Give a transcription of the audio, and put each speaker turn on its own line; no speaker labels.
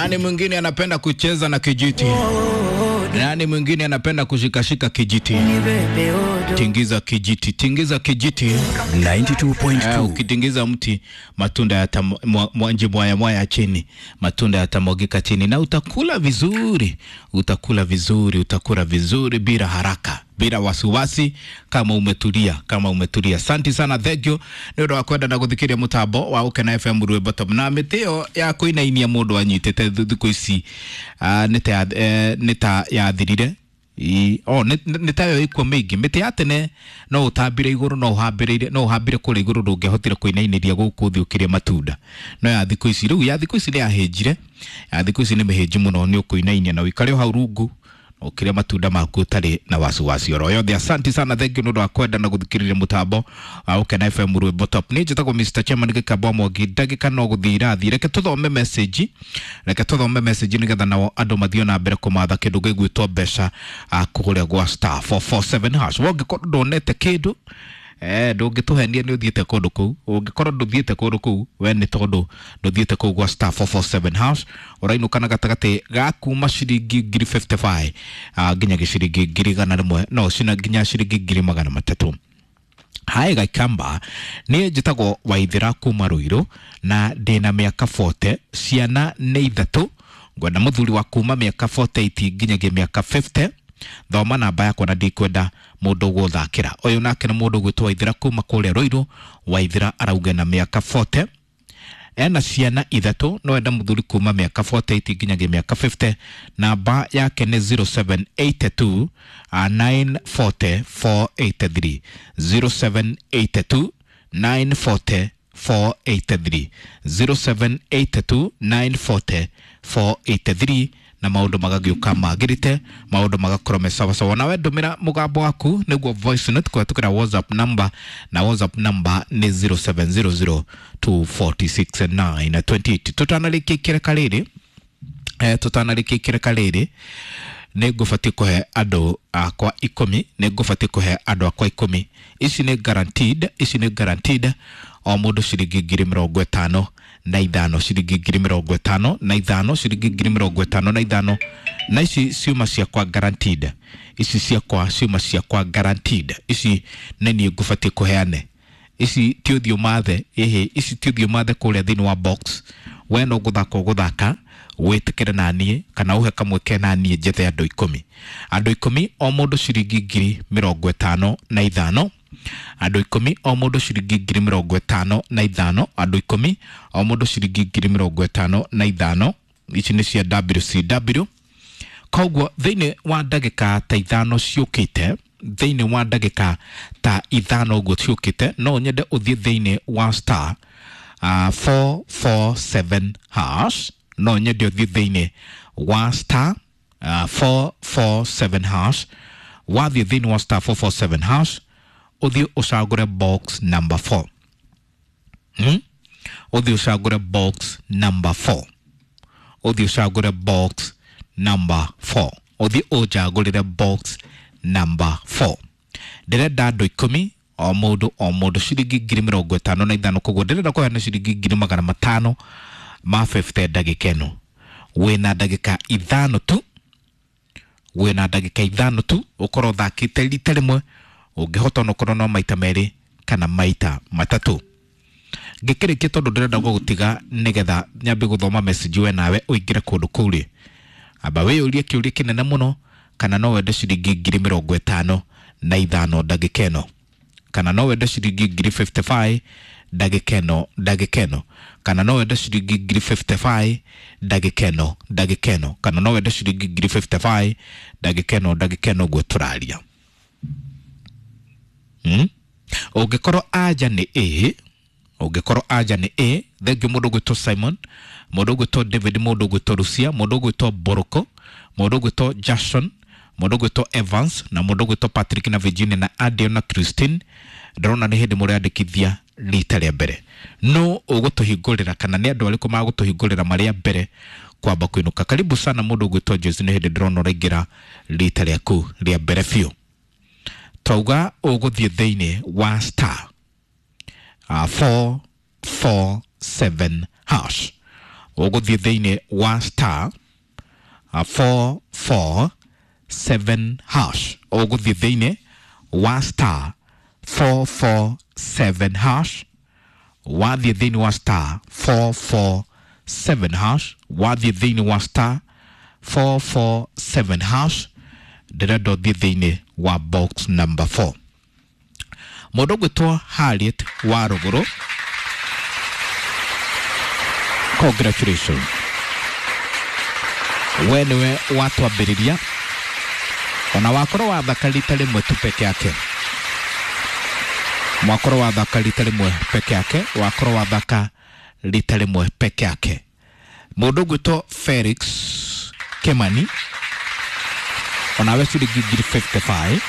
Nani mwingine anapenda kucheza na kijiti? Nani mwingine anapenda kushikashika kijiti? Tingiza kijiti, tingiza kijiti.
92.2
Ukitingiza mti matunda yatamwaya mwaya chini, matunda yatamwagika chini na utakula vizuri, utakula vizuri, utakula vizuri bila haraka, bila wasiwasi, kama umetulia, kama umetulia. Asante sana, thank you nĩ ũndũ wa kwenda na gũthikĩria mũtambo wa Ũkena FM rwĩmbo top na mĩtĩ ĩyo ya kũinainia mũndũ anyitĩte thikũ ici nĩ ta yathirire. O nĩ tayo ikuo mĩingĩ. Mĩtĩ ya tene no ũtambire igũrũ, no ũhambĩrĩire, no ũhambire kũrĩa igũrũ, ndũngĩahotire kũinainĩria gũkũ thĩ ũkĩrĩa matunda. No ya thikũ ici rĩu, ya thikũ ici nĩ yahĩnjire, ya thikũ ici nĩ mĩhĩnju mũno, nĩ ũkũinainia na ũikare o hau rungu ũkĩrĩa matunda maku ũtarĩ na wasiwasi oro yothe. Asante sana, thank you nĩ ũndũ wa kwenda na gũthikĩrĩria mũtambo wa Ũkena FM rwĩmbo top. Niĩ njĩtagwo Mr. Chairman Gĩkamba Mwangi. Ndagĩka no gũthiĩ irathiĩ, reke tũthome message, reke tũthome message nĩgetha nao andũ mathiĩ na mbere kũmatha kĩndũ gĩgwĩtwo mbeca kũrĩa gwa star 447 hash. Wongĩkorwo ndonete kĩndũ, ndũngĩtũhenia nĩ ũthiĩte kũndũ kũu. Ũngĩkorwo ndũthiĩte kũndũ kũu, we nĩ tondũ ndũthiĩte kũu gwa star 447 hash, ũrainũka na gatagatĩ ga kuma ciringi 1055 nginya gĩciringi 100,000, no cina nginya ciringi 300,000. Hae Gaikamba, niĩ njĩtagwo Waithĩra kuma Ruiru na ndĩna mĩaka 40, ciana nĩ ithatũ, ngwenda mũthuri wa kuma mĩaka 48 nginyagia mĩaka 50. Thoma namba yakwa na ndikwenda mũndũ gũthakĩra. Ũyũ nake nĩ mũndũ ũgwĩtwo Waithĩra kuma kũrĩa Ruiru. Waithĩra arauga na mĩaka 40, ena ciana ithatũ, no enda mũthuri kuma mĩaka 48 nginyagia mĩaka 50. Namba yake nĩ 0782 940 483, 0782 940 483, 0782 940 483, na maũndũ magagĩũka magĩrĩte, maũndũ magakorwo me sawasawa. Nawe ndũmĩra mũgambo waku nĩguo voice note kũhetũkĩra WhatsApp number, na WhatsApp number nĩ 0700 246 928. Tũtanarĩkia ikereka rĩrĩ, tũtanarĩkia ikereka rĩrĩ, nĩ ngũbatiĩ kũhe andũ akwa 10, nĩ ngũbatiĩ kũhe andũ akwa 10. Ici nĩ guaranteed, ici nĩ guaranteed, o mũndũ ciringi 55,000, ciringi 55,000, ciringi 55,000. Na ici ciuma ciakwa guaranteed, ici ciakwa ciuma ciakwa guaranteed, ici nĩ niĩ ngũbatiĩ kũheane. Ici ti ũthiũ mathe, ĩhĩ, ici ti ũthiũ mathe kũrĩa thĩinĩ wa box. We no gũthaka ũgũthaka, wĩtĩkĩre na niĩ kana ũhe kamweke na niĩ njethe andũ 10, andũ 10, o mũndũ ciringi 55,000, andũ 10, o mũndũ ciringi 55,000, andũ 10, o mũndũ ciringi 55,000. Ici nĩ cia WCW. Koguo thĩinĩ wa ndagĩka ta 5 ciũkĩte, thĩinĩ wa ndagĩka ta 5 ũguo ciũkĩte, no nyende ũthiĩ thĩinĩ wa star 447 hash, no nyende ũthiĩ thĩinĩ wa star 447 hash. Wathiĩ thĩinĩ wa star 447 hash, ũthiĩ ũcagũre box number 4. Ũthiĩ ũcagũre box number 4, ũthiĩ ũcagũre box number 4, ũthiĩ ũnjagũrĩre box number 4. Ndĩrenda andũ 10, o mũndũ o mũndũ ciringi 55,000. Koguo ndĩrenda kũheana ciringi 550,000 ndagĩka ĩno. Wĩna ndagĩka 5 tu, wĩna ndagĩka 5 tu, ũkorwo ũthakĩte rita rĩmwe, ũngĩhota onokorwo no maita 2 kana maita 3. Ngĩkĩrĩkia, tondũ ndĩrenda gũgũtiga nĩgetha nyambe gũthoma message, we nawe ũingĩre kũndũ kũu rĩ, amba wĩyũrie kĩũria kĩnene mũno, kana no wende ciringi 55,000 ndagĩka ĩno, kana no wende ciringi 55,000 ndagĩka ĩno, ndagĩka ĩno, kana no wende ciringi 55,000 ndagĩka ĩno, ndagĩka ĩno, kana no wende ciringi 55,000 ndagĩka ĩno, ndagĩka ĩno ũguo tũraria. Ũngĩkorwo anja nĩ ĩ, ũngĩkorwo anja nĩ ĩ, thengiũ mũndũ ũgwĩtwo Simon, mũndũ ũgwĩtwo David, mũndũ ũgwĩtwo Lucia, mũndũ ũgwĩtwo Boroko, mũndũ ũgwĩtwo Jackson, mũndũ ũgwĩtwo Evans, na mũndũ ũgwĩtwo Patrick na Virginia na Adio na Christine, ndĩrona nĩ hĩndĩ mũreyandĩkithia rita rĩa mbere. No ũgũtũhingũrĩra kana nĩ andũ arĩkũ magũtũhingũrĩra marĩa mbere kwamba kũinũka? Karibu sana mũndũ ũgwĩtwo Joyce, nĩ hĩndĩ ndĩrona ũraingĩra rita rĩaku rĩa mbere biũ. Twauga ũgũthiĩ thĩinĩ wa star 447 hash. Ũgũthiĩ thĩinĩ wa star 447 hash. Ũgũthiĩ thĩinĩ wa star 447 hash. Wathiĩ thĩinĩ wa star 447 hash, wathiĩ thĩinĩ wa star 447 hash, ndĩrenda ũthiĩ thĩinĩ wa box number 4. Mũndũ ũgwĩtwo Harriet wa Rũgũrũ, congratulations, we nĩwe watwambĩrĩria, ona wakorwo wathaka rita rĩmwe tu peke yake, mwakorwo wathaka rita rĩmwe peke yake, wakorwo wathaka rita rĩmwe peke yake. Mũndũ ũgwĩtwo Felix Kimani, onawe ciringi 55,000.